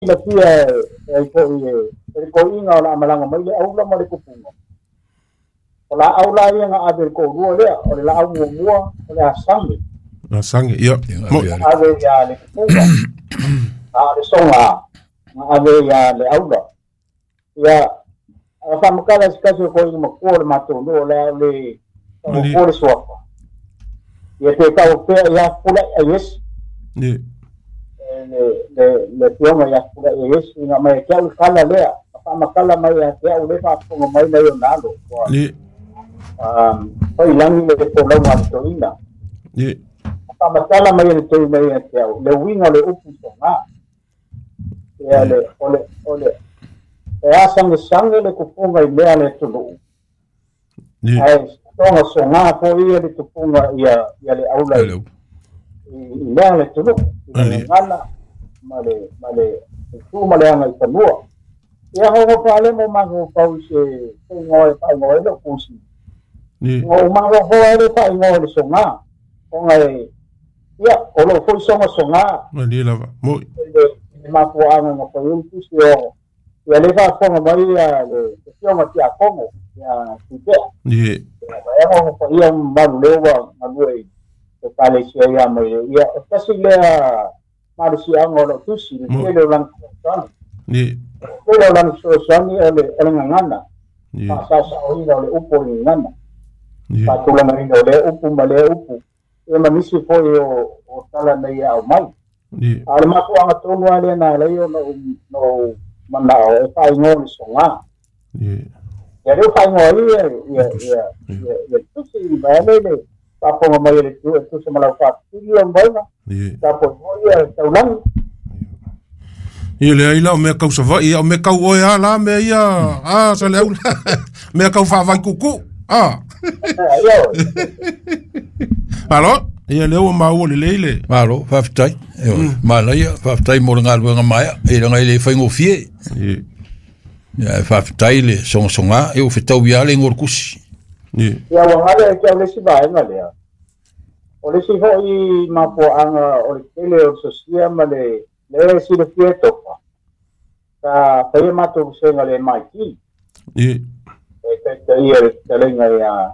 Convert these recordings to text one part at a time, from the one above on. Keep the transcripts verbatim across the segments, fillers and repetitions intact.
Silafia e ai fo'i e le toeaina o le a malaga mai le aula ma le tupuga. O laau la ia na ave i le toalua lea, o le laau muamua o le asage. Asage, ia. Ave ia le tupuga. A o le soga na ave ia le aula. Ia, a faamatala i se tasi o toeaina matua o le matou nuu o le a le taugofua le suafa. Ia pe tau pea ia pulai a Iesu. Ia. Le le le afioga ia Pulai a Iesu ina mai te au le tala lea, na faamatala mai ia te au le faafofoga mai nai ona alo. Ua Ia. um, faiilagi le folauga a le toeaina. Ia. Faamatala mai e le toeaina ia te au, le uiga o le upu soga. Ia le, o le, o le, e asagesage le tupuga i mea a le atunuu. Ia. Ae soga soga foi ia le tupuga ia, ia le aula i, i mea a le atunuu. I le gagana ma le, ma le tu ma le agaifanua. Ia hoho faale mo mafaufau i se igoa e faaigoa ai lou tusi. Ia. Ua ou mafaufau ai le faaigoa o le soga. Ona e, ia, o lou foi soga soga. Malie lava. Moi. Le, le mafuaaga na fai ai le tusi o, ia le faafofoga mai ia le afioga Tiakono, ia Tuipea. Ia. Ia ho paia mamalu lea ua galue i ekalesia ia mai le. Ia, o tasi lea malosiaga o lou tusi, le Mo. tele o lana fesoasoani. Ia. Tele o lana fesoasoani o le, o le gagana. Ia. Faasaosaoina o le upu o le gagana. Ia. Faatulagaina o lea upu ma lea upu. Ia ma nisi foi o, o tala nei e aumai. Ia. A o le mafuaaga tonu lava lea na ala ai ona ou, na ou manao e faaigoa le soga. Ia. Ia lea ua faaigoa ai ia, ia, ia, ia, ia le tusi, vaeane le faafofoga mai e le tu e tusa ma lau faafesili lau mauga. Ia. Tapuai foi ia taulagi. Ia leai la o mea kau Savaii, ia o mea kau oe a la mea ia, a sa le aula. Mea kau faavaikuku. A. Ia oe. Malo, ia lea ua maua lelei le. Malo, faafetai. Ioe, manaia, faafetai mo le galuega maea, e leaga e le faigofie. Ia. Ia, e faafetai le sogasoga, e ua fetau ia le igoa o le tusi. Ia. Ia ua galo e te au le isi vaega lea. O le isi foi mafuaaga o le tele o le sosia ma le le silafia e tofa. Sa faia matou vasega le M I T. Ia. E taitaia le fetalaiga ia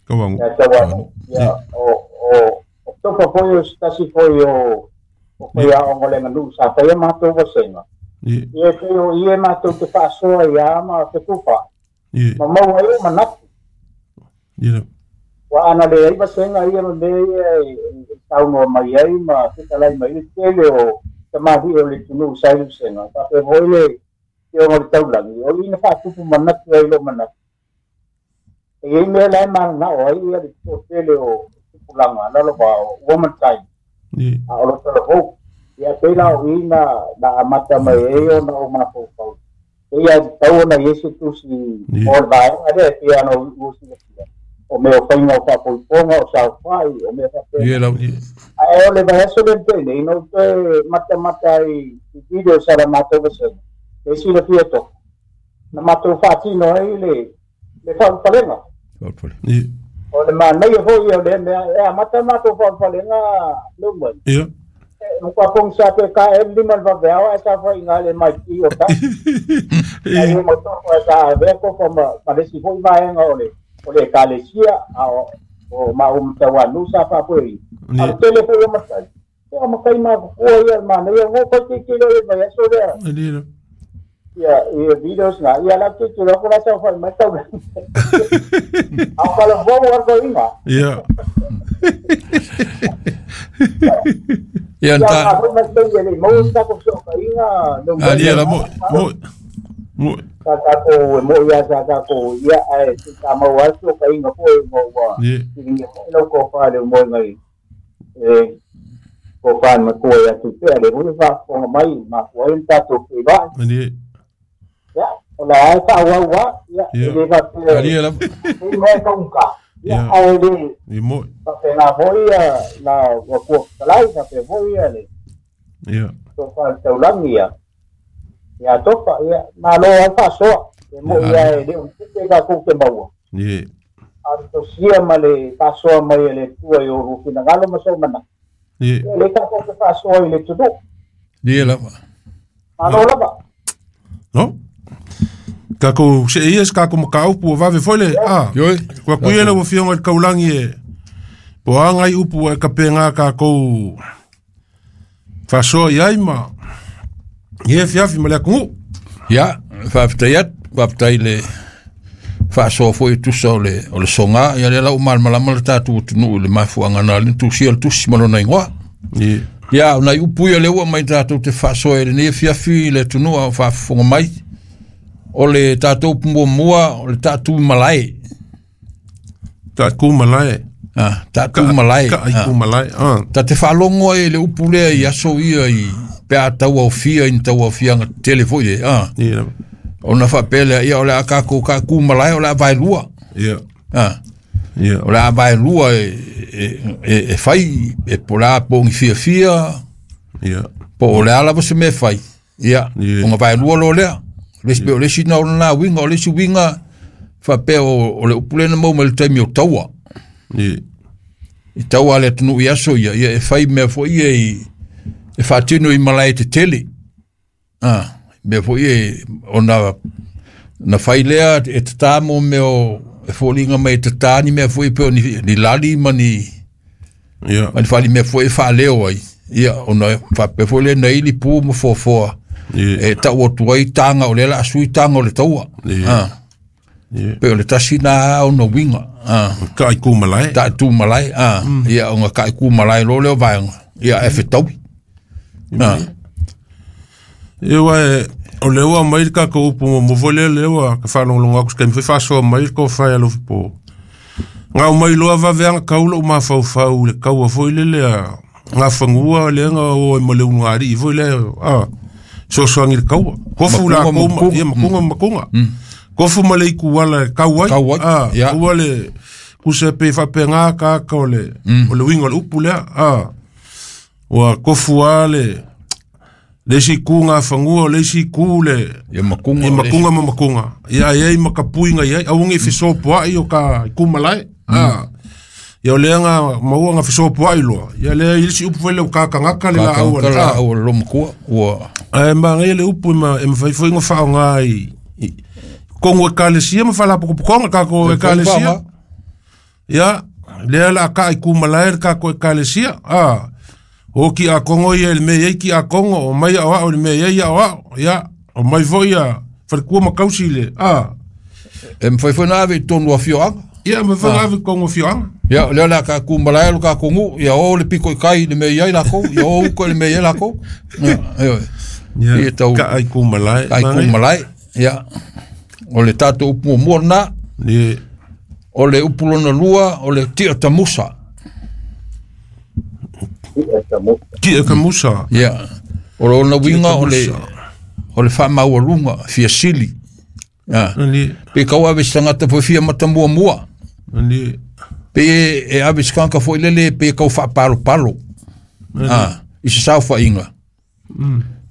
Tauagu. ia Tauagu. Ia, o, o, o tofa foi o se tasi foi o, o faiaoga o le aganuu sa faia matou vasega. Ia. Ia e pei o ia matou te faasoa ia ma fetufa. Ia. Ma maua ai o manatu. Ia. Ua ana le ai vasega ia ma mea ia e, e saunoa mai ai ma fetalai mai le tele o tamalii o le atunuu sa i le vasega. Faapea foi le afioga o le taulagi, o i na faatupu manatu ai lou manatu. E iai mea la e mananao ai ia le toatele o tupulaga lalo va o ua matai. Ia. A o lo talavou. Ia pei la o i na, na amata mai ai ona o mafaufau. E ia tatau ona i ai se tusi Ia. mo le vaega lea e pei ona ua silafia. O mea o faiga o faapoipoga, o saofai, o mea faapena. Ia lau. Ae o le vaiaso lea na tea nei, na ou toe matamata ai i video sa la matou vasega. E silafia tofa. Na matou faatino ai le, le faaulufalega. Faaulufalega. Ia. O le manaia foi ia o lea mea, e amata matou faaulufalega leu mai. Ia. E, matua pogisa pe ka e lima le vaveao ae sa faiga le M I T o ta. Ia. Ai o matou sa avea tofa ma, ma le isi foi vaega o le, o le ekalesia, a o, o maʻu matauanuu sa faafoeina. Ia. A le tele foi o matai. Ia, o matai matutua ia le manaia, o kai te tele o le vaiaso lea. Ia, ia. Ia, ia videos na, ia la te tele o la sa fai mai tau. A o kala vou ar ko inga. Ia. Ia, Ia, nta- ma foi mai tau ia le mau sa ko so ka inga, no Ah, ia la Mo, mo, mo. Sa ta ko mo ia sa ta ko ia ai ta mau a so ka inga foi mo wa. Ia. Ia lo ko fa le mo ngai. E ko fa ma ko ia tu te le mo fa ko mai ma ko ai ta to pe ba. Ia. Ia, o la ai fa wa wa, ia, Ia. le fa te. Ah, ia la. E mo ka un ka. Ia, Ia. ai le. Ia mo. Fa pe na foi ia la wa ko kalai fa pe foi ia le. Ia. To fa tau langi ia. Ia to fa ia ma lo ai fa so. E mo ia e le un te ka ku te maua. Ia. A to sia ma le fa so mai le tua i o ru fina ngalo ma so mana. Ia. Ia le ka ko te fa so i le tudu. Ia la. Malo lava. No. Kako se ia se kako makaupu o vave foi le a. Ioe. Kua kuia le ua fionga i le kaulangi e po anga i upu e kapenga kākou faasoa i ai ma i e fiafi ma le atunuu. Ia, faafetai atu, faafetai le faasoa foi e tusa o le o le soga, ia lea la ua malamalama le tatou atunuu i le mafuaaga na alii tusia le tusi ma lona igoa. Ie. Ia, o nai upu ia lea ua aumai tatou te faasoa i lenei afiafi i le atunuu a o faafofoga mai. O le tatou upu muamua, o le taatu malae. Taatu malae. Ah, taatu malae. Ka ai ku malae. Ah. Ta te faalogo ai i le upu lea i aso ia i pe a tauaofia i ni tauaofiaga tetele foi e. Ah. Ie lava. Ona faapea lea, ia o le a kākou ka malae o le a vaelua. Ie. Ah. Ie. O le a vaelua e, e, e, e fai, e po o le a pogi fiafia, Ie. po o le a lava se mea e fai. Ia, Ie. ona vaelua loa lea. Le isi pe o le isi na ona na uiga, o le isi uiga faapea o, o le upu lea na maua mai le taimi o taua. Ie. I taua a le atunuu i aso ia, ia e fai mea foi ia i, e faatino i malae tetele. Ah, mea foi ia ona na fai lea e tatā mo mea o e foliga mai e tatā ni mea foi pe o ni, ni lali ma ni, Ie. ma ni fali mea foi e faaleo ai. Ia, ona faapea foi lea na ili pu ma foafoa. Ie. E tau atu ai taga o lea la sui taga o le taua. Ie. Ah, Ie. pe o le tasi na ona uiga. Ah, Ka ai ku malae. taatu malae. Ah, ia ona ka ku malae lo lea o vaega. Ia e fetaui. Ah, E ua e, o le ua mai le kākou upu muamua foi lea le ua ka faalogologo atu se taimi foi faasoa mai le kofae a lofi po. Gau mai loa vaveaga kau lou mafaufau i le kaua foi lele a gafanua lea na o ai ma le ulugalii foi lea a soasoagi i le kaua. Kofu Makuga lakou ma ma makuga. ia makuga ma makuga. Kofu ma le ikuala e kau ai. Kau ai, A, ia. ua le kusa pe faapega kaka o le o le uiga o le upu lea. A, ua kofu a le le isi ku gafanua o le isi ku le ia makuga. i o le makuga ma makuga. Ia ai ai ma kapuiga i ai auga i fesopoai o ka i kumalae. A, ia o lea ga maua ga fesopoai loa. Ia lea i le isi upu foi lea o kakagaka le laau a Kakagaka le la a. au a le lomakua. Ua Ae magaia le upu e ma e mafai foi ona faaaoga i i kogu ekalesia ma faalapotopotoga tatou E ekalesia. faaaoga. Ia, lea la a ka'i kumalae le tatou ekalesia. A, o kiakogo ia i le mea i ai kiakogo, o mai aoao i le mea i ai aoao. Ia, o mai foi ia falekua ma kausi i le a. E mafai foi na ave i totonu o afioaga. Ia, mafai ona ave i totonu o afioaga. Ia, o lea o le a ka malae lo kākou nuu, ia o le piko i kai i le mea i ai lākou, ia o uka i le mea i ai lākou. Ia, ioe. Ia, Ia tau ka'i kumalae. kai ku malae. Ia, o le tatou upu muamua lena, Ie. o le upu lona lua, o le tia tamusa. Ia ta mo. Tia kamusa. Ia, o lona uiga o le, tamusa. o le faamaualuga, fiasili. Ia, Ani, pe kau ave se tagata foi fia matamuamua. ani, Pe e, e ave se tagata foi lele pe kau faapalopalo. Ah, i se saofaiga.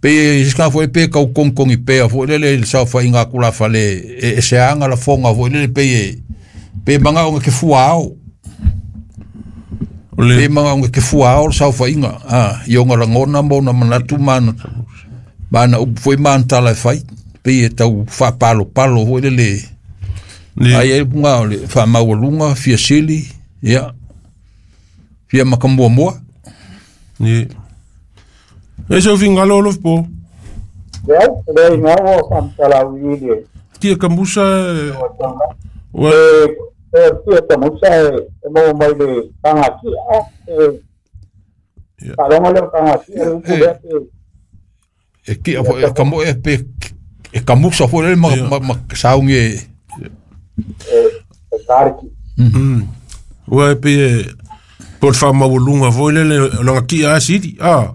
Pe i se tagata foi pe kau kogikogi pea foi lele i le saofaiga aku la fale e, e seaga lafoga foi lele pe e pe magaoga ke fuaao. o le Pe magaoga ke fuaao le saofaiga. Ah, i ona lagona ma ona manatu ma ana ma ana upu foi ma ana tala e fai. Pe e tau faapalopalo foi lele. ni, Ai ai punga o le faamaualuga fiasili, ia. Fia makamuamua. ni. E sau fingalo o lofi po. Lea, lea ina ua faamatalau i le Tia kamusa e, ua e e tia ta musa e e maua mai le tagatia e Ia. faalogo lea o tagatia le upu lea pe E kia foi e kamo e pe e kamusa foi le ma Ia. ma, ma saungi e e e kariki. Mm. Ua e pe e po le faamaualuga foi lele o laga tia a sili. A,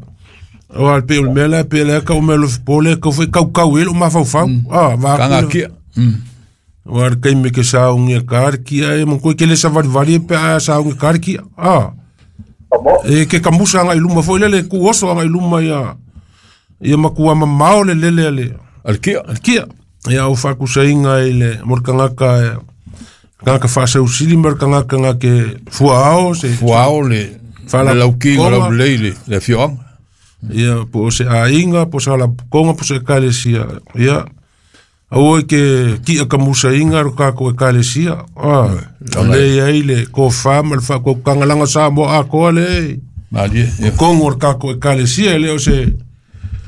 o le pe o le mea lea pe lea kau mea lofi po le kau foi kaukau e lou mafaufau. A, va aku kanga le- kia. Mm. Ua le kaimi ke saogi e ka le kia e makua ke le savalivali e pe a saogi ka le kia. A, Kamo. e ke kamusa agai luma foi lele ku oso agai luma ia ia makua mamao le lele a le Al kia. a le kia. Ia o faakusaiga i le mo le tagata e tagata faasausili ma le tagata ga ke fuaao se Fuao le Fala- le lauki Konga. lau lei le le afioaga. Ia po o se aiga po se faalapotopotoga po o se ekalesia ia aua e ke ki'a kamusaina lo kakou ekalesia a o lea iai le tofā ma le faautautaga laga Samoa atoa le Malie o tonu o le kakou ekalesia e lē o se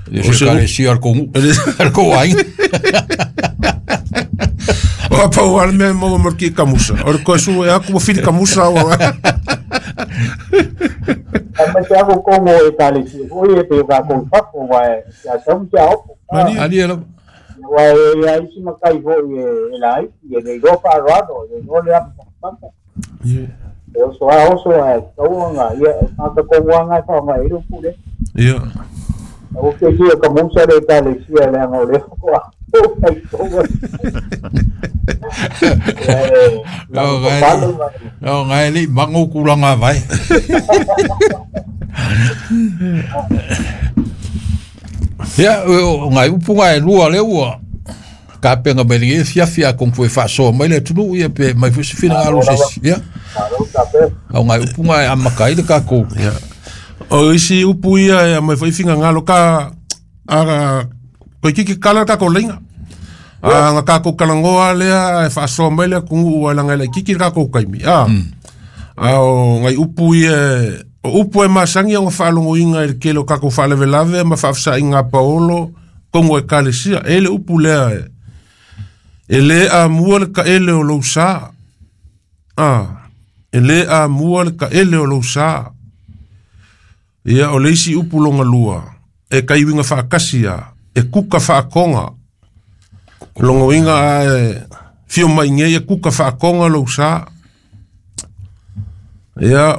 le se ekalesia o le kou le kou aiga o apau a le mea e maua ma le ki'a kamusa o le toe sue atu ua fili kamusa ua Aemaise aku kogo o ekalesia foi e pei o kakou i fafo uae se asau ma se aopo. Malie lava. Aua e iai isi matai foi e e laiti e le iloa faaaloalo e le iloa le apapapapa. E oso a oso ae tatau ona ia o tagata kogoaga e faaaoga ai le upu lea. Ia. Aua ke sia kamusa le ekalesia leaga o lea faatoa O ngai le mango kulanga vai. Ia o ngai upu ngai lua le ua ka penga mai le fia fia kong foi fa so mai le tunu ia pe mai foi se fina ngalo se ia. O ngai upu ngai amaka i le kakou. Ia. O isi upu ia e mai foi fingagalo ka a koe kiki kala kakou leiga. A ga kakou kalagoa lea e faasoa mai le atunuu ai laga e laʻikiki le kakou kaimi a. A o ngai upu ia o upu e masagi ona faalogoina i le tele o kakou faalavelave ma faafesaʻiga a paolo togo ekalesia e le upu lea e e lē amua le taʻele o lou sā a e lē amua le taʻele o lou sā ia o le isi upu loga lua e kaiuiga faatasi a e kuka faatoga logoina ae fio mai nei e kuka faatoga lou sā ia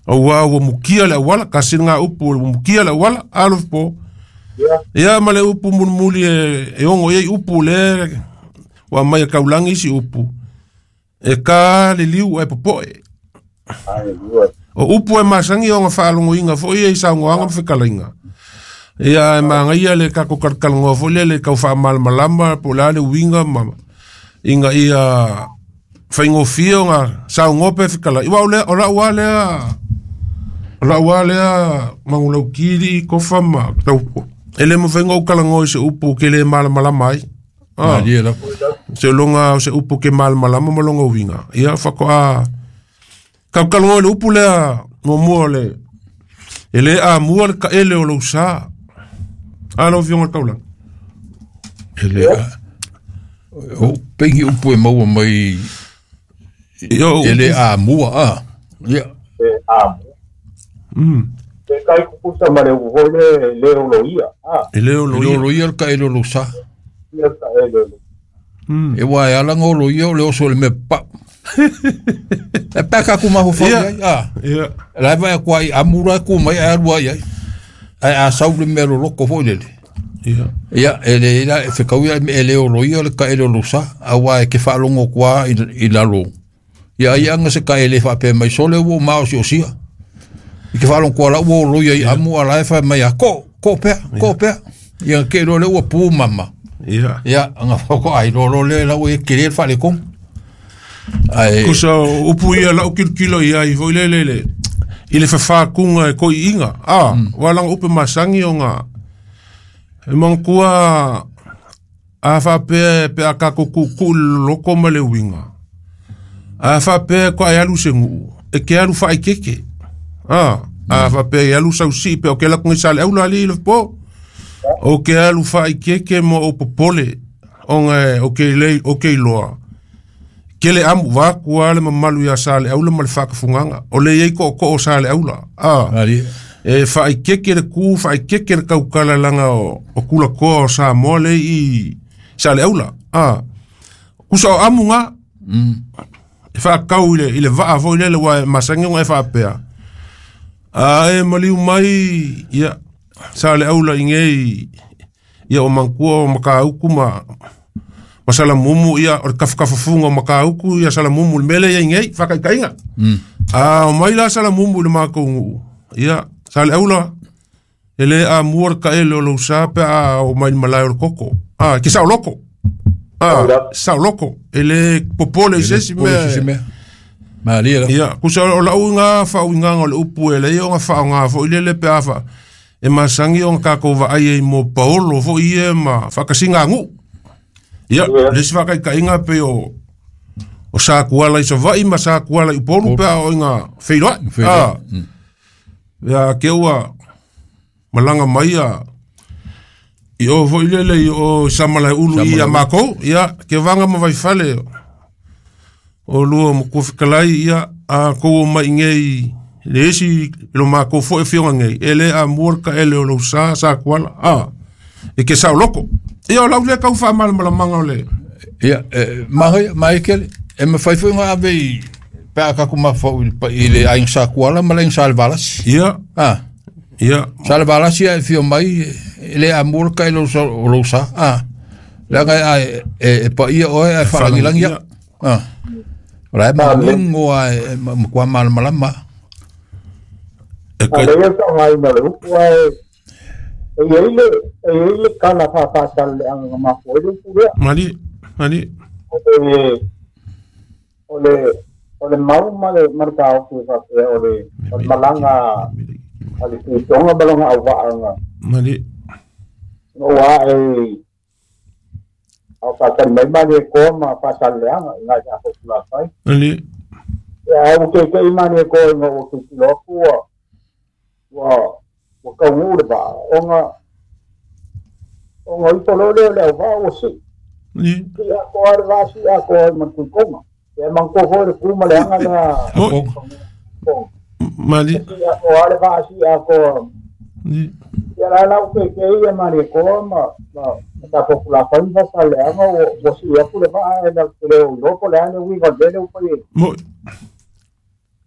auā ua mukia le auala kasi lagā upu ua mukia le auala alofa po ia ma le upu mulimuli e e ogo i ai upu le ua mai e kaulagi isi upu e ka le liu ae popo'e o upu e masagi ona faalogoina foi ia i saugoaga ma fetalaiga ia e magaia le kakou kalakalagoa foi lea le tau faamalamalama po o le a le uiga ma ina ia faigofie ona saugoa pe fetalai uaʻa o lea o la'u a lea o la'u a lea magulautili kofa ma tau e lē mafai ona ou kalagoa i se upu ke lē malamalama ai a Malie lava. se loga o se upu ke malamalama ma loga uiga ia faatoa kaukalagoa i le upu lea muamua o le e lē amua le taʻele o lou sā a lau afioga le taulaga E le o pengi upu e maua mai ia o e le upu amua a. Ia E amua. E kai kukusa ma le upu foi le le oloia. A. E lē E le oloia. oloia le taʻele o lou sā. Ia taʻele o lou. E ua e ala ga oloia o le oso o le mea papau. E paka ku mafaufau Ia. ai a. Ia. La vai ku ai amura ku mai ai alua ai. Ai a sau le mea loloko foi lele. Ia. Ia e le ila e fekau ia e le oloia le taʻele o lou sā auā e ke faalogo kua i i lalo. Ia ai anga se taʻele faapea mai sole ua maosiosia. I ke faalogo kua la ua oloia i amu ala e fae mai a ko ko pea ko pea. Ia ke lo le ua pu mama. Ia. Ia anga fako ai lo lo le la ua e kele le faaletonu. Ai Kusa o upu ia la'u kilokilo ia ai foi le le le i le fafākuga e koi'iga a ua laga upu masagi ona e manatua a faapea pe a kakou ku'uku'u le loloko ma le uiga a faapea e koa'e alu se gu'u e ke alu faaikeke a a faapea e alu sausi'i pe o ke lakuga i sa le aula alii le po o ke alu faaikeke ma ou popole ona e o ke lei o ke iloa kele amu vaku a le mamalu ia sa le aula ma le faakafugaga o le iai ko'oko'o sa le aula a ali e faaikeke le ku faaikeke le kaukala laga o, o kulakoa o Samoa le i sa le aula a kusa o amu ga e faakau i le, i le vaa foi lele ua e masagi ona e faapea a e maliu mai ia sa le aula i gei ia o mankua o makauku ma ma salamumu ia o le kafakafafuga o makauku ia salamumu le mele ia i gei faakaikaiga a o mai la salamumu i le makou guu ia sa le aula e lē amua le taʻele o lou sā pe a o mai le malae o le koko a ke saoloko a saoloko e lē popole i se isi pole se mea mea. Malie lava. ia kusa o la'u iga faauigaga o le upu e leai ona faaaogā foi lele pe a fa E masangi o kākou vaai ai mo paolo foʻi ia ma faakasiga aguʻu. Ia le isi faakaikaʻiga pei o o Sakuala i Savaʻi ma Sakuala i Upolu pe a oiga feiloaʻi a ia ke ua malaga mai ia i o foʻi lele i o Samalaeulu i ia makou ia ke vaga ma vaifale o lua mokuafikalai ia a kou o mai igei le isi lo makou foʻi afioga nei e lē amua le kaʻele o lou sa Sakuala a e ke saoloko ia o lau lea kau faamalamalamaga o le ia magai mai kele e mafai foi ona ave i pe a kaku mafau i le aiga Sakuala ma le aiga Salevalasi ia a ia Salevalasi a e fio mai e le amua le kaʻele o lou sa a leaga e e paia oe ae faalagilagi ia a o la e magugo a e matua malamalama e kai A lea faaaogaina o le upu ae e iai le e iai le kala faafaasaleaga na mafua ai le upu lea mali mali o le o le o le mau ma le ma le taofi e faapea o le o le malaga a le tuitoga ma lona auvaaga mali ina ua ae ao faatali mai Malietoa ma Faasaleleaga i nai tatou tulafai mali ia ae ua kekeʻi Malietoa ina ua tilotilo atu ua ua ua tauguu le vaa ona ona ifo loa lea o le auvaa ua sii mali sii atoa le vaa sii atoa ai ma le tuitoga ia e manatua foi le tu ma le aga lea mo mali sii atoa le vaa sii atoa mali ia la la ua kekeʻi ia Malietoa ma ma ma tatou tulafai ma Faasaleleaga ua ua sii atu le vaa e latou te le o iloa po o le a le uiga o le mea lea ua fai ai mo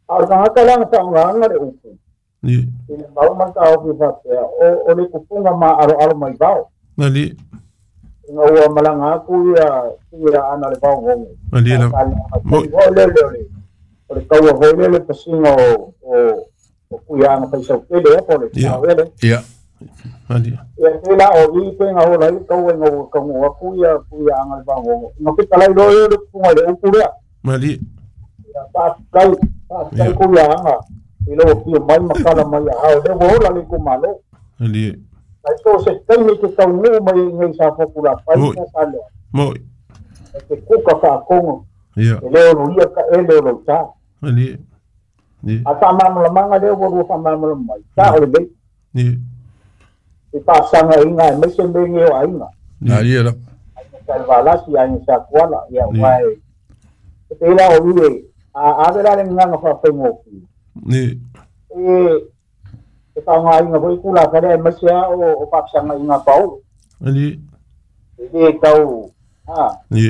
a o le tagata la na faaaogaina le upu mali i le mau ma le taofi faapea o o le tupuga maʻaloʻalo mai vao mali ina ua malaga atu ia ia ana le vaogogo mali la mo foi lele o le o le taua foi lele pasiga o o o kuiaga faisautele e po o le Ia. tauele ia mali ia te la o i pe nga ola ai taua ina ua tauguu atu ia kuiaga le vaogogo ina fetalai loa ia le tupuga i le upu lea mali ia faafetai faafetai Ia. kuiaga i lou afio mai ma kala mai aao lea ua ola le itumalo mali ai so se taimi ke taunuu mai ai nei sa fopulafai Oi. sa salea mo e te kuka faakogo ia e lē oloia kaʻele o lou tā mali ni a faamalamalamaga lea ua lua faamalamalama mai tā o lelei ni i faasagaiga e maise mege o aiga na ia la aiga Salevalasi aiga Sakuala ia Ni. ua e e pei la o ie a ave la le gagaga faafaigofie ni e e faaaogāina foi tulaga lea e maise a o o faafesagaiga paolo mali e lē tau a ni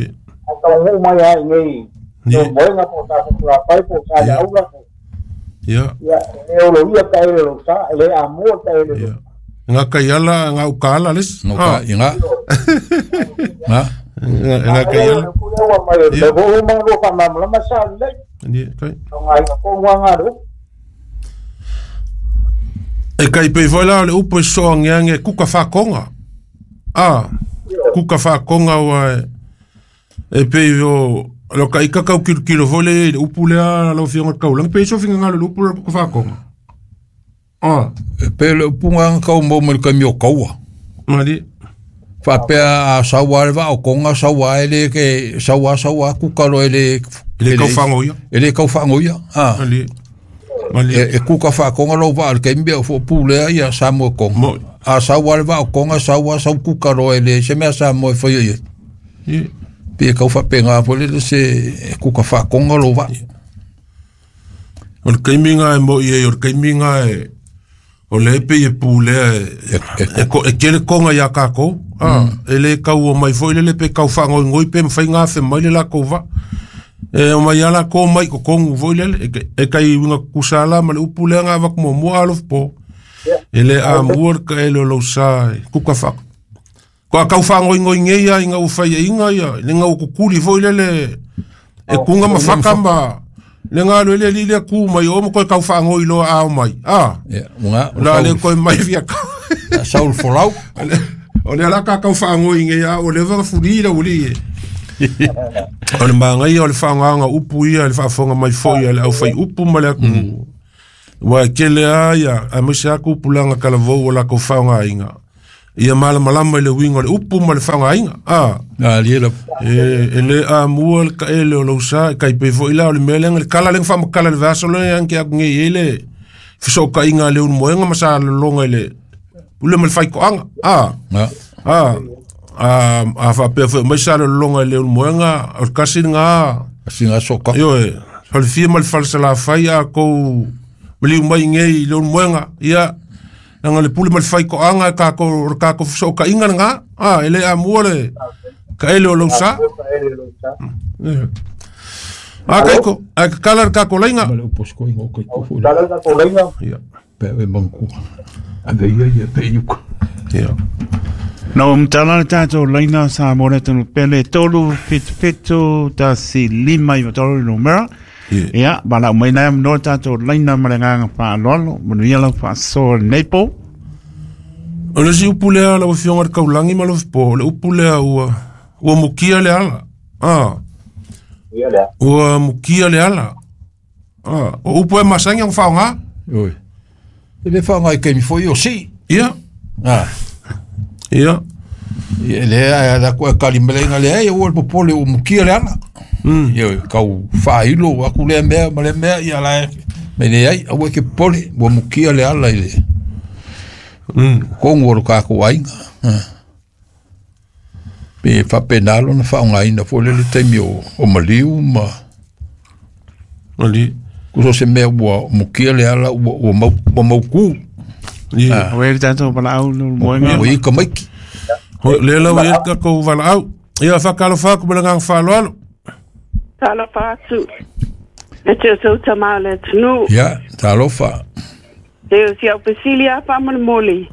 a tauguu mai a inei ni moega po o tatou tulafai po o sa le Ia. aula po ia ia e lē oloia taele lou sa e lē amua taele lou ia nga kaiala nga ukala les no ka inga na nga nga kaiala ua mai o le fou ma lua faamalamalama sa lelei ni kai faaaogāina koguaga le upu e kai pei foi la o le upu e soageage kuka faakoga a kuka faakoga ua e e pei o lo kaika kau kilokilo foi le i le upu lea lau afioga le kaulagi pei sofigagalo i le upu le kuka faakoga a e pe le upuga aga kau mau mai le kaimi o kaua mali faapea a saua le vaa o koga saua e lē ke saua saua kuka loa e lē e le kau fagoia e lē kau faagoia a mali mali e, e kuka faakoga lou vaa le kaimi o foʻopū lea ia Samoa e koga Mo- a saua le vaa o koga saua sau kuka loa e lē se mea Samoa e faia i ai ni pe kau faapegā foi lele se e kuka faakoga lou vaa o le kaimiga e moʻi ai o le kaimiga e o le pei e pulea e E- e ko- e kele koga iā kākou a e lē kau o mai foi lele pe kau faagoigoi pe mafai gafe mai le lakou vaa e o mai a lakou mai kokogu foi lele e ke- e kai uiga kusa la ma le upu lea ga avaku muamua alofopo e lē amua le kaʻele o lou sa e kuka faa ko a kau faagoigoi nei a iga ua faiaʻiga ia le ga ua kukuli foi lele e kuga ma faka ma le galo ele alii lea ku mai o ma koe kau faagoi loa ao mai a ia uga la le koe mai fia kau saulu folau o le ala ka kau faagoi nei a o le vaga fuli la uli e o le magaia o le faagaga upu ia le faafofoga mai foi a le aufai upu ma le atunuu Ua e kele a ia a maise aku pulanga kalavou o lako whaonga ia malamalama i le uiga o le upu ma le faogāiga a a lie la e e le amua le kaele o lausa e kaipei foʻi la o le mea lega le kala lega faamakala le vaiaso le anke aku gei ai le fesookaiga a le ulumoega ma sa lologa i le pule ma le faikoaga a a a a faapea foʻi mai sa lologa i le ulumoega o le kasi lagā asiga soka ioe falefia ma le falesalafai a kou maliu mai gei i le ulumoega ia Nanga le pule ma le faikoaga e kākou o le kākou fesookaiga lagā a e lē amua le kaele o lausa a kaiko ae kakala le kākou laiga ma le upu sikoiga o kaiko foʻi Kala le kākou laiga ia pe e manku ave ia ia pe iuka ia No umtala le tātou laina sa mo le tanu pele tolu fitu fitu tasi lima i tolu numera. Ia, bala mai nei no tātou laina ma le nganga whaalolo, manuia lau whaasoa nei po. O le si upu lea lau afioga le kaulagi ma lau po, le upu lea ua ua mukia le ala. Ah. Ia lea. Ua mukia le ala. Ah, o upu e masangi ang whaonga. Oi. E le whaonga i keimi foi o si. Ia. Ah. Ia. Ia le a la ko kali melenga le ai o le popole o mukia le ala. Mm. Ia kau whailo aku le mea ma le mea ia la me le ai au ke pole o mukia le ala i le. Mm. Kongo o ka ko ainga. Pe whapenalo na whaonga ina fo le le taimi o, o maliu ma Ali. Kuso se mea ua mukia le ala ua, ua, mau, ua mauku. Ia. O e tātou pala au no moenga. Ua i ka maiki. Le lau e ka kou wala au. Ia whakalo whaku me langang whaloalo. Talofa atu. E te o tama le tunu. Ia, talofa. Te o si au pesili a whamana moli.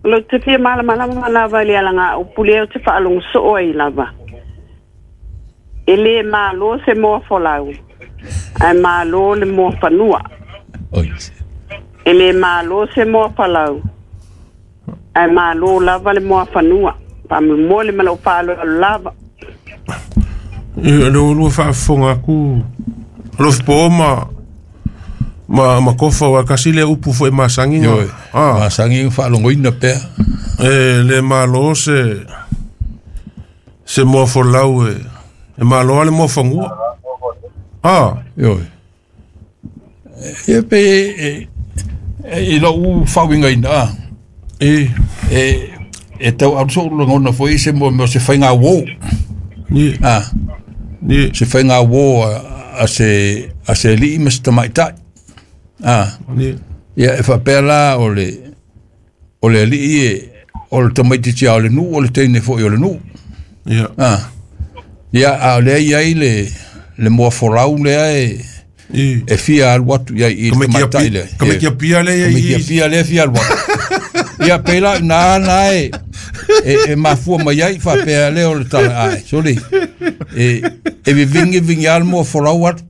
Lo te fia malamalama lava le alanga o pule o te whaalongo soo ai lava. E le malo se moa folau. Ai malo le moa whanua. Oi. E le malo se moa falau. Ai malo lava le moa whanua. Pamu mole malo whaalo lava. Ia le olua faafofoga aku alofipo ma ma ma kofa wa kasi le upu foʻi masagi Ioe. Masangi whaalogoina pea. E le malo se se moa folau e e malo ale moa fagua. Ah. Ioe. Ia pe e e lau whawinga ina a. E E e tau aruso lagona foi se mo mo se whainga wō. Ni. Ah. Ni. Se whainga wō a se a se lii ma se tamaitai. Ah. Ni. Ia e whapea la o le o le lii e o le tamaititia o le nuu o le teine foi o le nuu. Ia. Ah. Ia a le ia i le le moa folau lea e I. e fia alu atu ia i le tamaitai lea. Ka me kia pia le ia Ka me kia i. pia lea fia alu atu. Ia pela nā nā e e, e mafua mai ai whapea lea o le tala ai. Soli. E e vivingi vingi a le moa folau atu.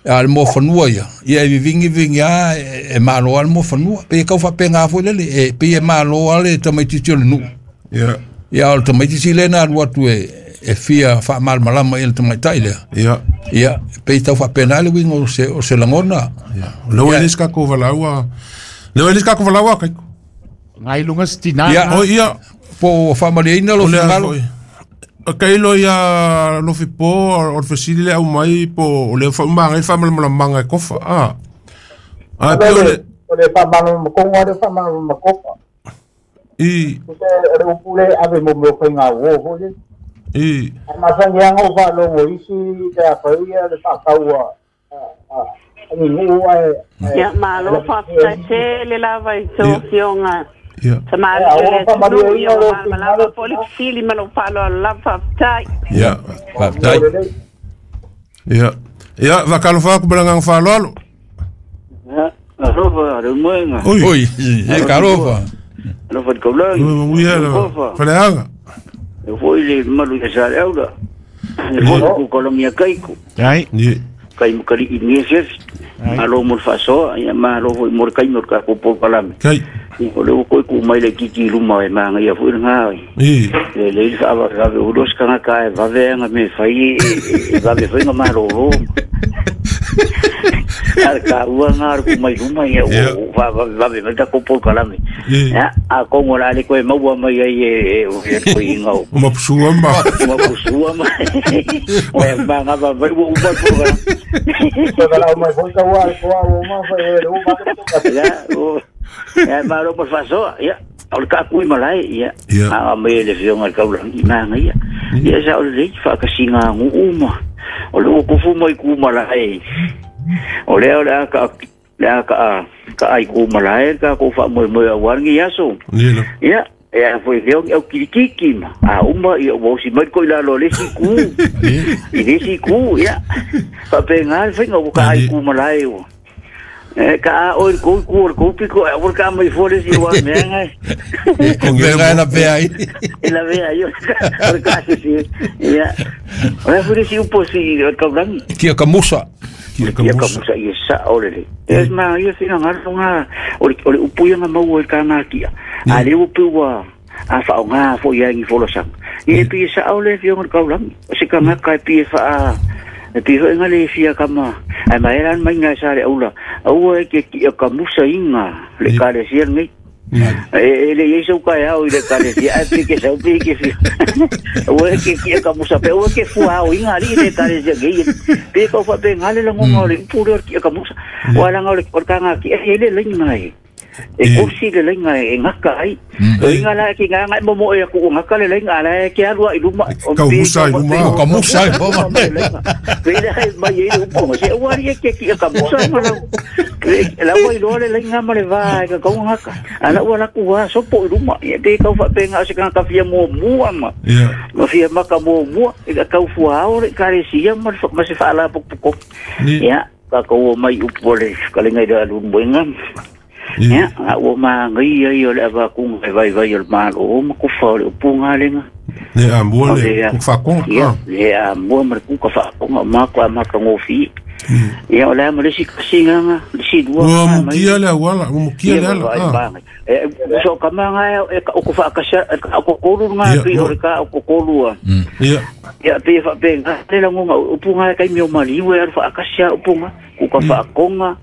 A le moa whanua ia. Ia e vivingi vingi a e, e malo a le moa whanua. Pe e kau whapea ngā foi lele. E pe e malo a le tamaititi o le nuu. Ia. Ia o le tamaititi lea na alu atu e e fia whaamalmalama i le tamaitai lea. Ia. Ia, pe i tau whapena le winga o se, o se langona. Ia. Leo Ia. elis ka kou valaua. Leo elis ka kou valaua kaiko. Ngai lunga stina. Ia. O ia. Po o whamaliaina lo O lea fingalo. foi. O kailo ia lofi po o le fesili le au mai po o le whaumanga i whamalamalamanga e kofa. Ah. A pe o le O le whamana makonga le whamana makofa. i O te o le upu le ave mo meo whainga wō hoi le. i A masangi anga o whaalongo isi te a whaia le whakaua a a a ni nuu ai Ia malo whaafutai te le lava i tō fionga. ia Ta malo Ia, le o whamani tunu ia o ina malamalama lo po le fesili ma lou faaaloalo lava faafetai. ia Whaptai. ia ia vakalofa aku balanga whaaloalo. Alofa, le moenga. Oi. Oi, e karofa. Alofa le kaulagi. Ui ia Kofa. faleaga. E foi le malu ia sa le aula. E foi ku kolongia kaiko. Ai. Ni Kai mukari i ni sesi. Malo mo le faasoa, ia malo foi mo le kaimi o le kako po kalame. kai O le ua ku mai le kiki luma e manga ia foi ngā. i Le le le ava ave o dos kanga ka e vave anga me fai e vave foi nga malo ro. Al ka ua ngā ku mai luma ia o va va va me ta ko pol kalame. Ya a kongo la le koe maua mai ai e e ko inga o. Ma pusua ma. Ma pusua ma. O e ma nga va va u ba ko ga. Ko la mai foi ka wa ko wa ma fa e o ma ko. Ya o ya ma lo por faso ya. O le ka kui malai ia. A me le fionga ka ula i ma ia. Ia sa o le fa ka singa ngu uma. O le o kufu mai ku malai. O le o le ka le ka ka ai ku malai ka ko fa mo mo wa ngi aso. Ia e foi fio au kirikiki ma. A uma ia o si mai ko ila lo le si ku. I le si ku ia. Fa pe ngal fa ngo ka ai ku malai o. E ka o ko ko ko piko e o ka mai fore si wa me ngai. Ko ngai la pe ai. La ve ai o ka si si. Ia. O le fore si upo si ka blangi. Kia ka musa. Kia ka musa ia sa o le. Es ma ia fina ngal nga o le upo ia mau o ka nga kia. A le upo wa a fa o nga fo ia ngi folo sang. Ia pi sa o le fio ka blangi. Se ka nga ka pi fa e pi ho ngale fia kama ai mai ran mai nga sa le aula au e ke ki ka musa inga le ka le sia ngi e le yeso ka ya o le ka le sia ai pi ke sa pi ke fi au e ke ki ka musa pe au ke fu au inga li le ka le sia ngi pe ko fa pe ngale le ngo le pu le ki ka musa wala ngale ko ka nga ki e le le ngai e kursi le lenga e ngaka ai e ngala ki nga ngai momo e ku ngaka le lenga la ke alua i luma o ka musa i luma ka musa i luma pe le hai mai e upo se o ari ke ki ka musa ma la wa i lo le lenga ma le va ka ka ngaka ala wala ku wa sopo i luma e te ka fa pe nga se ka ka fia mo mua ma ma fia ma ka mo mua e ka fu ao le ka le sia ma ma se fa ala pok pok ya ka ko mai upo le ka le ngai da lu moenga. Ya, a o ma ngai ai o le va ku ngai vai vai o ma o ma ku fa o pu nga le nga. Ne a mo le ku fa ko. Ya, ya mo ma ku ka fa ko ma ko ma ka ngo fi. Ya o la mo le si ka singa nga, le si dua. O mo kia le wala, mo kia le ala. E so ka ma nga e o ku fa ka sa ko ko lu nga pi o ka o ko lu. Ya. Ya pe fa pe nga le la ngo o pu nga ka mi o mali we fa ka sa o pu nga ku ka fa ko nga.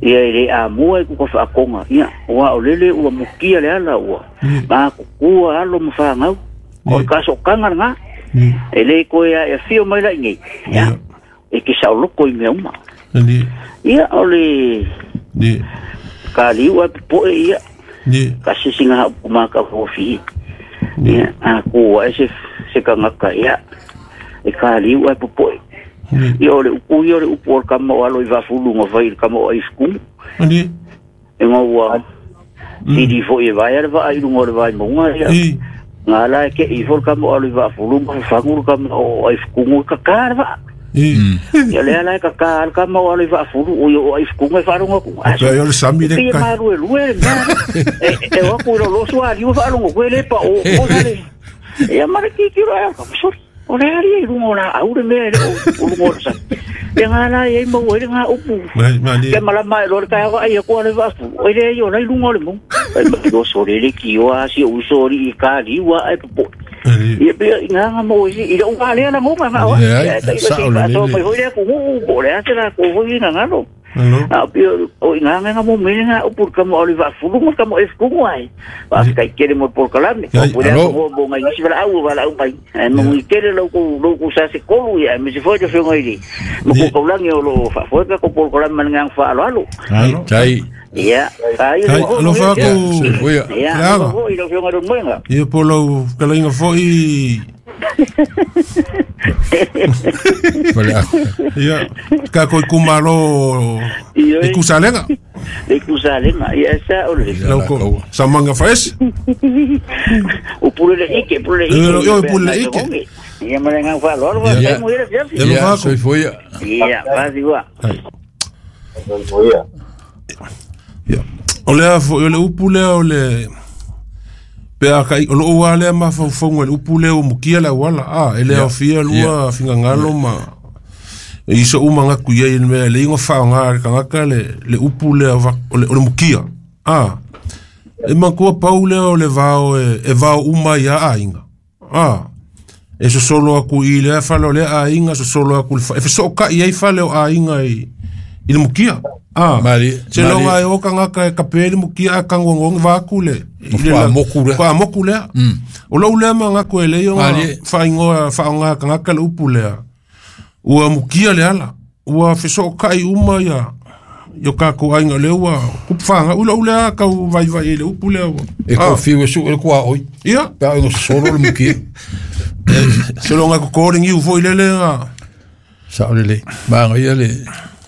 Ia le a mua ku ka whaakonga. Ia, ua o lele ua mukia le ala ua. Ma kukua alo mwhangau. O ka sokanga nga. E le koe a e whio mai lai nei. Ia, e ki sauloko i mea uma. Ia, o le ka liu a poe ia. Ka sisinga hau kumaka hofi. Ia, a kua e se se kangaka ia. E ka liu a poe. Ia o le upu ia o le upu o le kama o alo i vafulu ngā whai le kama o aifukumu. E ngā ua tiri fo i vai ale vaa i lunga o le vai maunga ia. Ngā la e ke i fo le kama o alo i vafulu ngā whangu le kama o aifukumu e kakaa le vaa. Ia lea la e kakaa le kama o alo i vafulu o i o aifukumu e whaalonga ku. Ia o le sami le kai. E maru e lue le mea. E waku i lo loso a liu whaalonga koe le pa o o sale. Ia mara kikiro e kama sori. O le ari i runga o la aure mea le o runga o sa. Ia ngā la e mau e le ngā upu. Ke malama e lore kai awa ai ko ale vafu. O le ai o lai runga o le mong. Ai ma o sore le ki o a si o sori i ka liwa ai popo. Ia pia i ngā ngā mau i i o ngā lea na ngoma ngā oa. Ia sa o le le. Mai hoi lea ku ngu po le ate la ko hoi ngā ngalo. A pia o i ngā ngā mo mele ngā upu ka mo oli vafulu mo ka mo e fukungu ai. Wa kai kere mo por kalame. O le mo mo ngai si wala au wala au mai. E mo i kere lo ko lo ko sa se kolu ia me se foi de fio ngai. Mo ko kaulangi o lo fa foi ka ko por kalame ngang fa alo alo. Tai. Ia, ai lo fa ko. Ia, lo i lo fio ngai mo nga. Ia po lo kalainga foi. Ia, ka ko kumalo e kusalenga. E kusalenga, ia sa o le. Lo sa manga fes. O pule ike, pule ike. Yo pule ike. Ia malenga fa lo lo Ia mo ira fia. Ia, soi foi. Ia, va diwa. Ia. O le o le upu le o le pe a kai o lo wale ma fa fongo le upu le o mukia la wala a ele o fia lua fingangalo ma i so uma nga ku ye me le ngo fa nga ka nga le le upu le o le mukia a e ma ko paule o le vao e vao uma ia a inga a e so solo aku i le fa lo le a inga so solo aku e so ka i fa le a inga i i le mukia. Ah, Mali se longa e o kangaka e kape le mukia a kangongongi vaku le i le moku le. Kwa moku lea. O lau lea manga ko e lei o whaingoa whaonga kangaka le upu lea. Ua mukia le ala. Ua feso kai uma ia yo ka ko ainga le ua kupu whanga. Ula ule a kau vai vai e le upu lea ua. E ko fiu e su e kua oi. Ia. Pea ingo solo le mukia. Se longa ko kore ngiu foi le le nga. Sa o le le. Maanga ia le.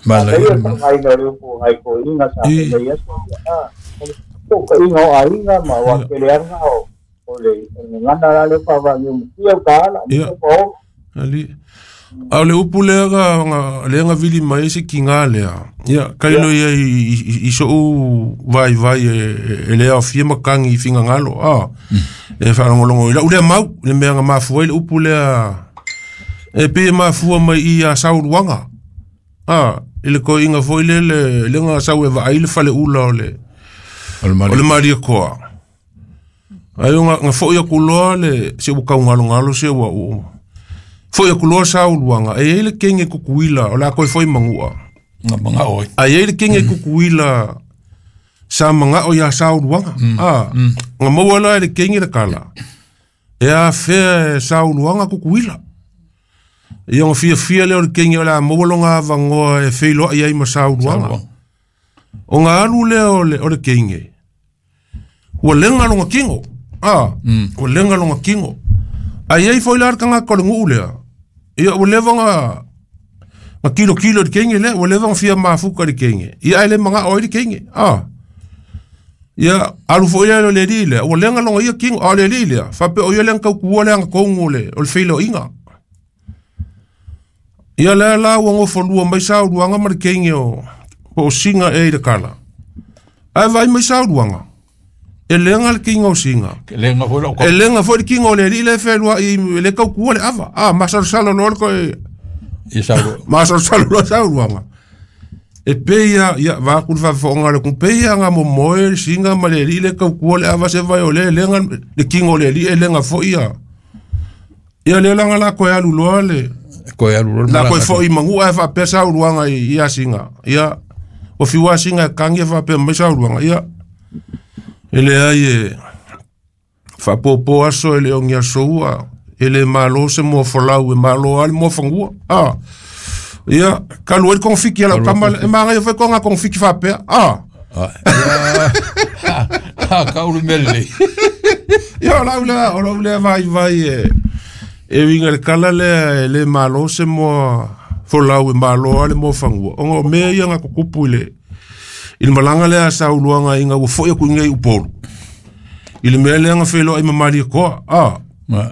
Maanga ia. Maanga le upu ngai ko inga sa le ia so. Ah. Ko inga o ainga ma wa kele anga o. O le ngana la le pa va ngiu mukia ka ala. Ia. Ali. A le upu lea nga le nga vili mai se kinga lea. Ia kailo ia i so vai vai e le afia makangi i finga ngalo. Ah. E whalongolongo ila ule mau le mea nga mafua i le upu lea e pe mafua mai i a sauluanga. Ah, i le ko inga foi le le le nga sau e vaai le fale ula o le o le Maria koa. Ai nga nga foi akuloa le se u kau ngalo ngalo se ua u. Foi akuloa sauluanga e ele kenge kukuila o la koi foi mangua. Nga manga oi. Ai ele kenge kukuila sa manga o ia sauluanga. Ah, nga maua la ele kenge le kala. E a fea sauluanga kukuila. Ia nga fia fia leo le kenge o la maua longa avangoa e feiloa ia ima sauluanga. O nga alu leo le, o le kenge. Ua lenga longa kingo. Ah, ua lenga longa kingo. Ai ai foi la kanga ko le nguu lea. Ia ua leva nga nga kilo kilo le kenge lea, ua leva nga fia mafuka le kenge. Ia ai le manga oi le kenge. Ah. Ia alu foi lea le li lea, ua lenga longa ia kingo a le li lea. Fape o ia lenga kau lea nga kongo le, o le feilo inga. Ia lea la ua ngofolua mai sauluanga ma le kenge o o singa e i le kala. Ai vai mai sauluanga. E lenga le kingo o singa. E lenga foi le E lenga foi le kingo le li le whenua i le kaukua le ava. Ah, masalosalo loa le koe. I saulu. Masalosalo loa sauluanga. E peia, ia, vākuru whawhaonga le kung peia ngā momoe le singa ma le li le kaukua le ava se vai o le lenga le kingo le li e lenga foi ia. Ia le langa la koe alu loa le. Koe alu loa. La koe foi mangua e whapea sauluanga i ia singa. Ia, o fiwa singa kangi e whapea mai sauluanga. Ia. Ele ai e whapopo aso ele ongi aso ele malo se mo folau e malo ale mo fangua. Ah. Ia, kalu ele konfiki ala kama e manga foi konga konfiki whapea. Ah. Ah. Ah, kaulu mele. Ia la ula, ola ula vai vai e e winga le kala le le malo se mo folau e malo ale mo fangua. Ongo me ia nga kukupu ile il malanga lea sauluanga inga ua foi aku ingai upolu. I le mea lea nga wheloa i mamali koa. Ah.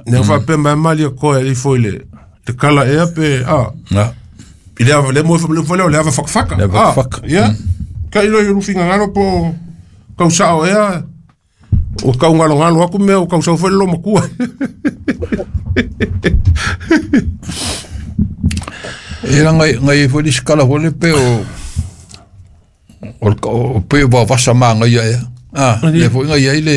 Nea whapea mamali koa e foi le le kala ea pe. Ah. I le ava le mo le le ava whakawhaka. Le ava whakawhaka. Ia. Ka ilo i rufinga ngalo po kau sao ea. O kau ngalo ngalo aku mea o kau sao whele lo makua. E la ngai ngai foi le skala foi le pe o o pe o vasa manga ia ia. Ah, le foi ngai ia le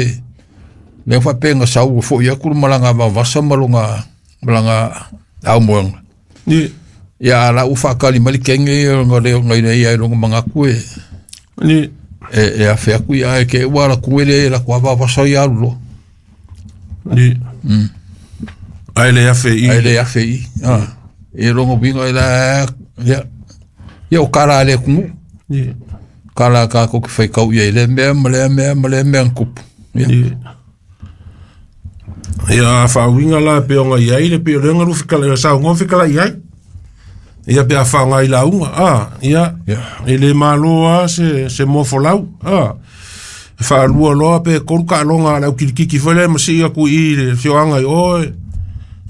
le fa pe nga sau foi ia ku malanga va vasa malonga malanga au moang. Ni ia la u fa kali mali kenge ngai ngai ia longa manga ku e. Ni e e a fe ku ia e ke wa la ku ele la ku va vasa ia lo. Ni. Mm. Ai le afe i. Ai le afe i. Ah. E longo binga ila ia ia o kala le ku. Ni. Kala ka ko ki whai kau ia i le mea, ma le mea, ma le mea kupu. Ia. Ia whaawinga la pe onga iai le pe o lenga ruwhikala, ia sa onga whikala iai. Ia pe a whaonga i la unga. Ah, ia, e le maloa se, se mofolau. Ah, whaalua loa pe koruka alonga lau kirikiki whele, ma si ia ku i le whioanga i oe.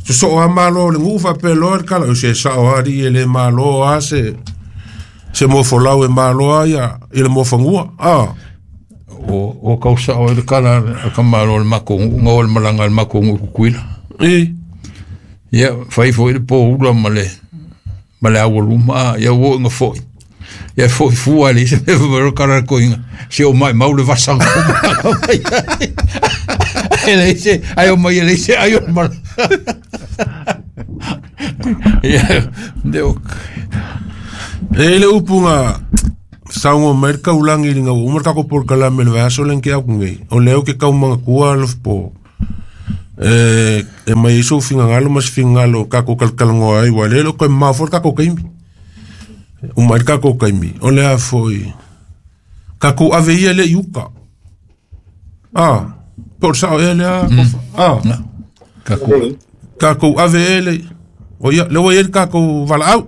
So so a malo le ngufa pe loa le kala, o se sao ari e le maloa se se mofolau e maloa ia i le mofangua. Ah. O o kausa o le kala ka malo le makongu ngo le malanga le makongu kukuila. E. Ia fai foi le po ula male male awoluma ia wo nga foi. Ia foi fua le se me kala ko inga. Se o mai mau le vasanga. Ele se ai o mai ele se ai o mal. Ia deu. E le upunga Saungo mai ka ulangi linga umar ka ko por kala mel vaso len ke au ngai o leo ke kau manga kua lo po e e mai so finga ngalo mas finga lo ka ko kal kal ngoi wa le lo ko ma for ka ko kaimi umar ka ko kaimi o le a foi ka ko ave ia le yuka ah por sa ele a ah ka ko ka ko ave ele o ia le o ka ko vala au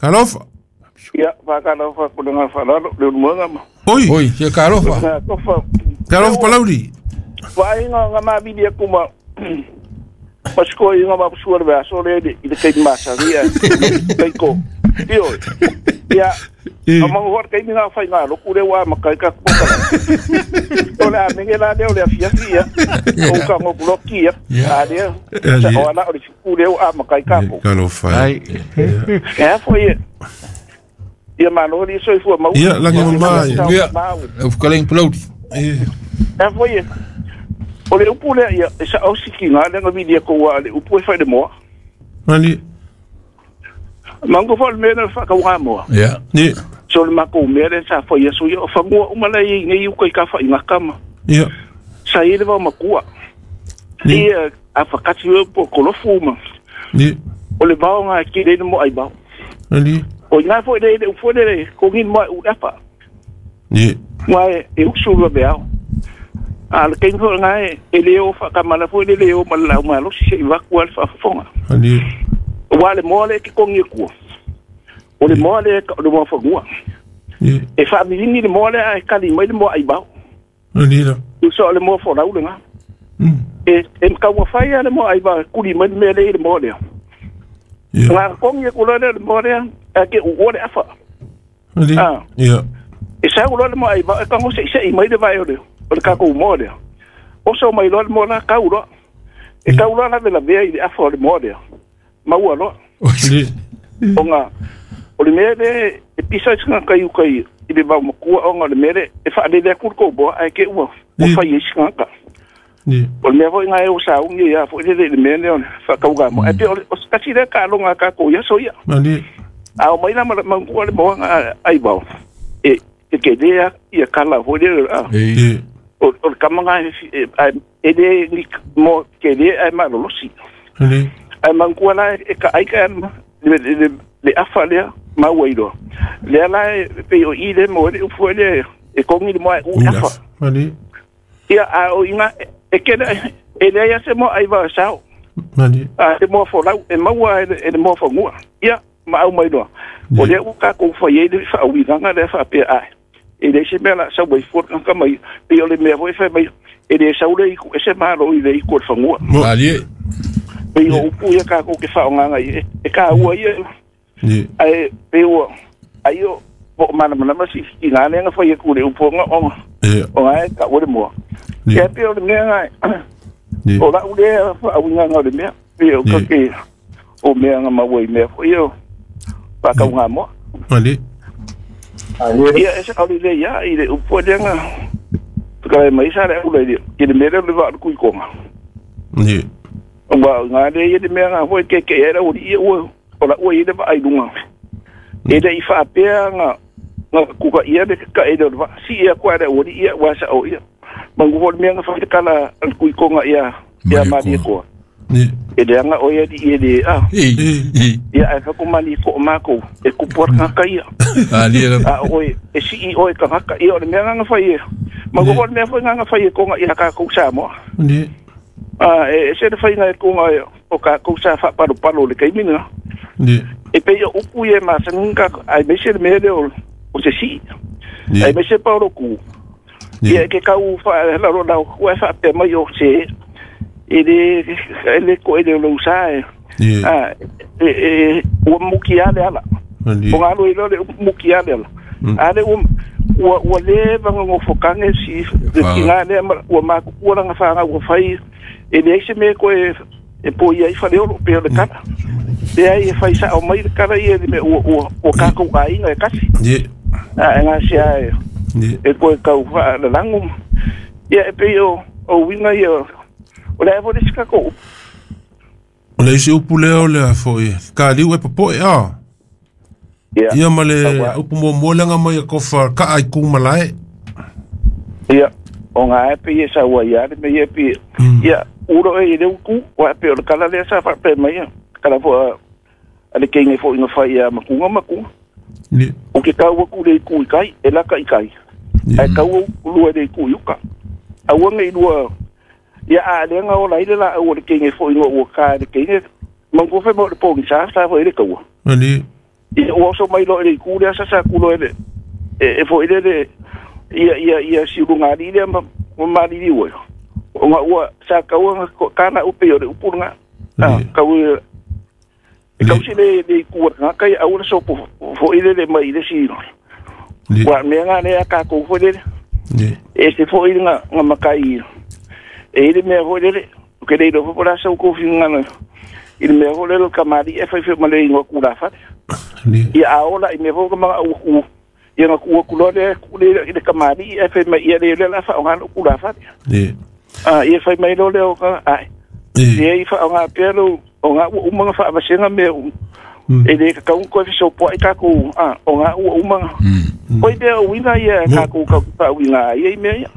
kalofa. Ia, whakalofa ko ngā whalalo, le ununga ma. Oi! Oi, se kalofa. Kalofa. Kalofa palauri. Wai ngā ngā mawili aku ma. Pasiko i ngā mapusua le aso le i le kei masaria. Kei ko. Io. Ia, a mangu hora kei ngā whai ngā loku le wā makai ka kupokala. O le a menge la leo le a fiafi ia. O ka ngokuloki ia. A lea. Sa o ala o le fiku leo a makai ka ko. Kalofa. Ai. Ea foi e. Ia malo li soi fua mau. Ia langi mai. Ia. O kaleng palauri. Ea foi e. O le upu lea ia e sa au siki ngā lenga vili ko wa le upu e whai le moa. Mani. Mango fo le mea whakau ngā moa. Ia. Ni. So le mako mea le sa whai aso ia o whangua umala i ngei uka i ka whai ngā kama. Ia. Sa i le wau makua. Ia a whakati ua po kolofu uma. Ni. O le wao ngā ki reina mo ai bao. Mani. O ngā fo le le ufo le ko ngin mo u lepa. Ni. Ngā e uksu lua beao. A le kein fo ngā e leo whakamana fo le leo ma lau malo si se i waku al whafonga. Mani. Wa le moa le ki kongi kua. O le moa le ka o le moa whangua. Ni. E whaamilini le moa le a e kali mai le moa ai bao. Mani la. Uso le moa whanau le ngā. Mm. E, e mkaua whai a le moa ai bao kuli mai le mea le i le moa lea. Yeah. Ngā kongi kula le moa lea a ke u le afa. Mani. Ah. Ia. E sa ula le moa ai bao e kango se se i mai le vai o le o le kako moa lea. Oso mai loa le moa la kau loa. E kau loa la vela vea i le afa o le moa lea. Maua loa. Ni. O ngā o le mea le e pisa i singa kai ukai i le vau makua o ngā le mea le e whaalele aku le kouboa ai ke ua o whai e singa ka. Ni. O le mea foi ngā e o saungi ia foi le le mea le o whakauga mo. E pe o kasi le ka alonga ka ko ia so ia. Mani. A o mai la mangua le moa ngā ai vau. E e ke lea ia kala foi le a. Ni. O o le kamanga e e le ni mo ke le ai malolosi. Mani. Ai mangua la e ka ai ka le le le afa lea maua i loa. Lea la e pe o i le mo le ufo le e kongi le moa u afa. Mani. Ia a o inga e ke le e le ia se mo ai va sao. Mani. A te moa folau e maua e le moa fangua. Ia ma au mai loa. O lea u ka kou whai e le wha uiganga le wha pe ai. E le se mea la sau wai fua ka mai pe o le mea foi whai mai e le sau le iku e se malo i le iku o le fangua. Ali. Pe o upu ia ka kou ke wha o nganga i e ka ua ia. Ni. Ai pe o ai o po mana mana ma si ki ngā lenga whai e kure upu nga o Ia. o ngai ka ua le moa. Ni. Ia pe o le mea ngai Ni. o la ule wha uiganga o le mea pe o Ni. ka ke o mea nga maua i mea foi o whakau ngā moa. Mani. Ia e se kauri le ia i le upu le nga whakarae mai sa le ula i le i le mea le wa kui konga. Ni. Wa ngā le ia le mea ngā hoi ke ke era uri ia ua o la ua i le wa ai lunga. E le i whaapea ngā ngā kuka ia le ka e le wa si ia kua le uri ia wa sa o ia. Mangu hoi mea ngā whai te kala al kui konga ia ia Maria mari koa. koa. Ni. E le anga o ia di ia le a. Ei. Ei. Ia ai whakumani ko o mākou e kupuar ngā ka ia. Ali la. A oi e si i oi ka ngaka ia o le mea ngā whai e. Mangu hoi mea whai ngā whai e konga ia ka kou Samoa. Ni. A e se le whai ngā e konga ia o ka kou sa whaparo palo le kaimina. Ni. E pe ia upu ia masangi ka ai mese le mea le o o se si. Ni. Ai mese paolo ku. Ni. Ia ke kau wha la ro lau kua wha pe mai o se e le e le ko e le lo sa e. Ni. A e e ua muki ale ala. Mani. O ngā roi le muki ale ala. Ale ua ua ua le vanga ngofokange si le Wha- ki ngā lea ma ua mākukua ranga whanga ua whai e le se me koe e po ia i whare oro pe o le kara. Le ai e whai sa o mai le kara ia le me ua ua ua kākou āinga e kasi. Ni. A e ngā se ai Ni. e koe kau wha la langu. Ia e pe o o winga ia o le evo le sika kou. O le isi upu lea o lea foi. Ka liu e popoe a. Ia. Ia ma le upu muamua lea mai e kofa kaa i kumalae. Ia, o ngā e pe sa ua ia le me ia pe. Ia, uro e le uku, wa pe o le kala lea sa whape mai ia. Kala fo a le keinge fo inga whai ia makunga makunga. Ia. O ke kaua ku le ku i kai, e laka i kai. Ai kaua lua le ku i uka. Aua ngai lua, ia a le nga o la ile la au le keinge fo inga ua ka le keinge. Mangu fe mo le pongi sa, sa fo ile kaua. Ali. Ia ua so mai lo ile ku le asa sa ku lo ile. E e fo ile le ia ia ia si lunga li le ma ma li ua. O nga ua sa kaua kana upe o le upu nga. Ah, kau e kau si le le ku nga kai au le sopo fo ile le mai ile si. Wa me nga le ka ko fo le. E se fo ile nga nga makai. E ile me fo ile ke le do fo la sa ko fi nga na. Ile me fo le ka mari e fa fe ma le ngo ku la fa. Ia aola i me fo ka ma u ia nga ku ku lo le ku le ile ka mari e fa ma ia le le la fa nga ku la fa. Ah, ia fai mai lo le o ka ai. Ia i fa nga pelo o nga u uma fa vasenga me e le ka un ko so po i ka ku ah o nga u uma. Oi be o ina ia ka ku ka pa uina ia i me ia.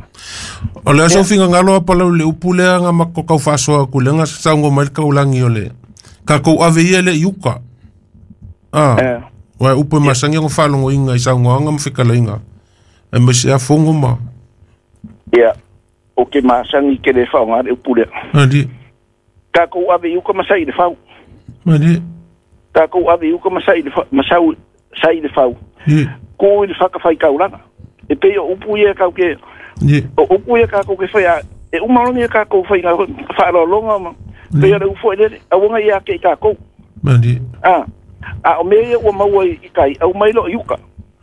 O le aso finga ngalo pa le upu le nga mako kau fasoa ku le nga sango mai ka ulangi ole. Ka ko ave ia le yuka. Ah. Wa upu masangi ngo falongo inga i sango nga mfikala inga. E me se afongo ma. Ia. O ke masangi ke le fa nga le upu le. Ali. Ka ko ave yuka masai le fau. Ali. Ka ko ave yuka masai le masau sai le fau. Ko le fa ka fai kaulanga. E pe o upu ia ka ke o upu ia ka ko ke fai e uma longi ka ko fai nga fa lo longa ma. Pe le ufo le a wonga ia ke ka ko. Ali. Ah. A o me ia o maua i kai au mai lo yuka.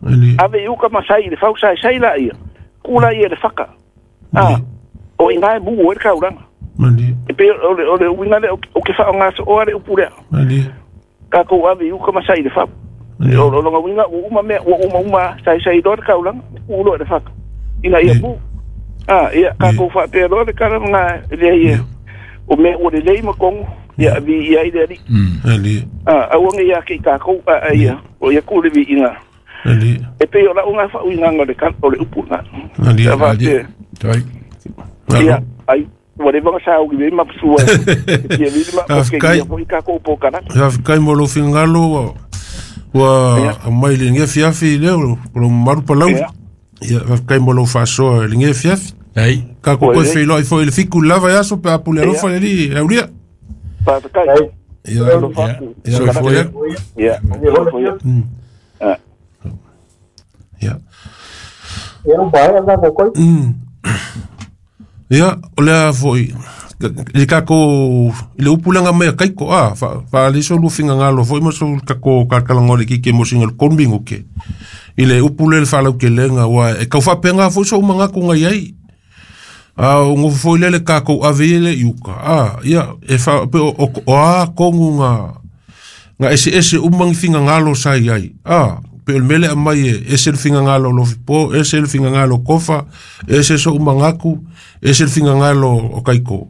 Ali. Ave yuka masai le fau sai sai la ia. Kula ia le faka. Ah. O inga mu o kaulanga. Ali. E pe o le o le uinga le o ke fa nga so o le upu le. Ali. Ka ko ave yuka masai le fau. O lo longa uinga o uma me o uma uma sai sai do kaulanga u lo le faka. Ina ia mu. Ah ia ka ko fa pe lo le kala nga le ia. O me o le lei ma kongo. Ia vi ia ile ali. Ali. Ah au nga ia ke ka ko a ia o ia ku le vi inga. Ali. E pe o la unga fa uinga le ka o le upu nga. Ali. Ali. Tai. Ia ai whatever sa o gi ma sua. Ia vi ma ke ia foi ka ko po kana. Ia kai mo lo fingalo wa mai le nge fiafi le lo maru palau. Ia kai mo lo faso le nge fiafi. Ai ka ko ko fi lo foi le fiku lava ya so pe apule lo fa le aulia. Pa kai. Ia ia foi. Ia. Ah. Ia. Ia o bai ala ko koi. Ia, o lea foi, le kako, le upulanga mai kaiko, ah, fa, fa le so lufinga ngalo foi mo so kako kakalangole ki ke mo single konbingo ke. Ile upule le falau ke lenga wa e kau fa penga foi so manga ko ngai ai. Ah, o ngo foi le kako avele yuka. Ah, ia e fa pe o o a kongu nga nga ese ese umang finga ngalo sai ai. Ah, pe mele amai ese finga ngalo lo po, ese finga ngalo kofa, ese so umangaku, ese finga ngalo o kaiko.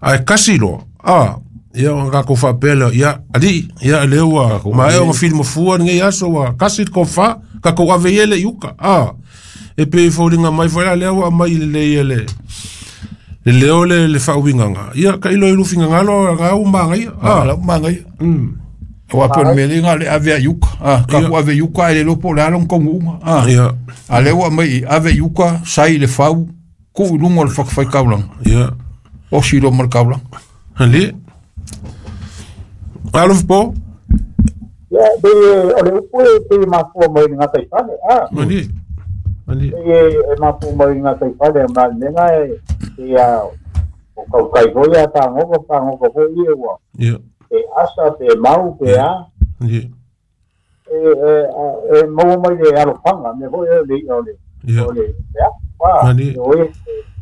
Ai kasilo, ah, ia nga kofa pela, ia ali, ia lewa, ma e o film fua ngai aso wa kasil kofa, ka ko avele yuka. Ah, e pe folinga mai fola lewa mai le le le leo le le fa uinganga. Ia ka ilo ilu finga ngalo nga umanga ia. Ah, la umanga ia. Mm. O a pon melinga le ave yuka. Ah, ka ku ave yuka ele lopo le alon kongu unga. Ah. Ia. A lewa mai ave yuka sai le fau ku lungo le fak fai kaulang. Ia. O si lo mal kaulang. Ali. Alof po. Ia be o le upu e pe ma fo mai nga tai fale. Ah. Ali. Ali. E ma fo mai nga tai fale ma menga e ia o kau kai go ia ta ngo pa ngo ko ia wa. Ia. E asa pe mau pe a. Ia. E e e mau mai le alofanga me ho e le o le. O le ya. Pa. O e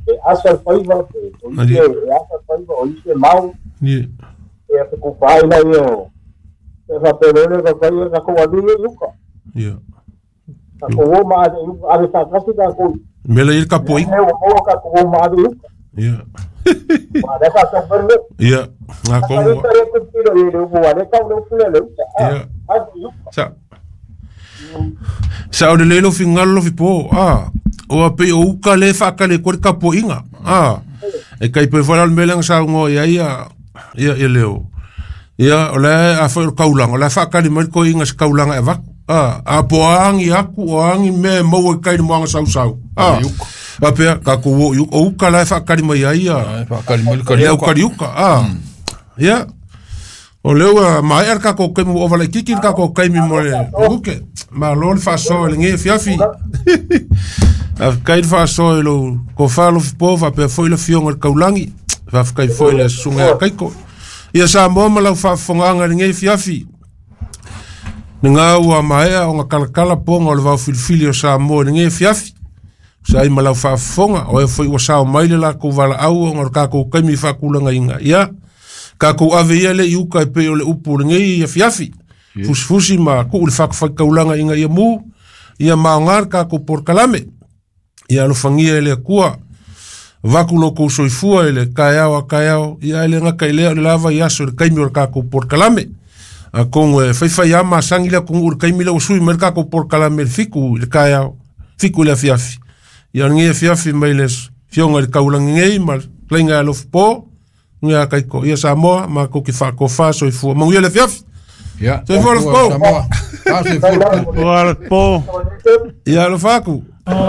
e asa faiva pe. O e asa faiva o e mau. Ia. E a ku pai la io. E fa pe le ka kai ka ko ali yuka. Ia. Ka ko o ma a sa kasi ka ko. Mele il kapoi. E o ka ko ma ali yuka. Ia. Ma le ka sa perle. Ia. Nga kongo. Ia. Sa. Sa o le lelo fingalo lo fipo a o a pe o uka le whaakale kore kapo inga a e kai pe whala mele nga sa ngo ia ia ia ia leo ia o le a fo kaulanga o le whaakale mai ko inga sa kaulanga e vaku a a po angi aku o angi me mau e kai mo anga sau sau a a pe ka ko o o uka le whaakale mai ia ia whaakale mai ka ia uka a ia o leo a mai ar ka ko kai mo o kiki ka ko kai mi mo le uke ma lo le faso le nge fiafi a kai faso lo ko falo po va pe foi le fionga le kaulangi va kai foi le sunga kai ko ia sa mo ma lau fa fonga le nge fiafi nga ua mai o nga kala kala ponga o le vau filifili o sa mo le nge fiafi sa i ma lau fa fonga o e foi o sa mai le la ko vala au o nga ka ko kai mi fa kulanga inga ia ka ko ave ia le iuka e pe o le upu le nge ia fiafi fusi ma ku le fak fak kaulanga inga ia mu ia maongar ka ko por kalame ia alofangia ele kua vaku lo ko soifua ele kaiao a kaiao ia ele nga kai lea le lava ia so le kaimi o ka ko por kalame a kongo e fai fai ama sangi le kongo le kaimi le usui mer ka ko por kalame le fiku le kaiao fiku le fiafi ia ngi fiafi mai le fionga le kaulanga ngai ma lenga lo po nga kai ko ia Samoa ma ko ki fa ko fa soifua mo ia le fiafi. Ya. Se for po. Ah, se for po. Ia lo faku.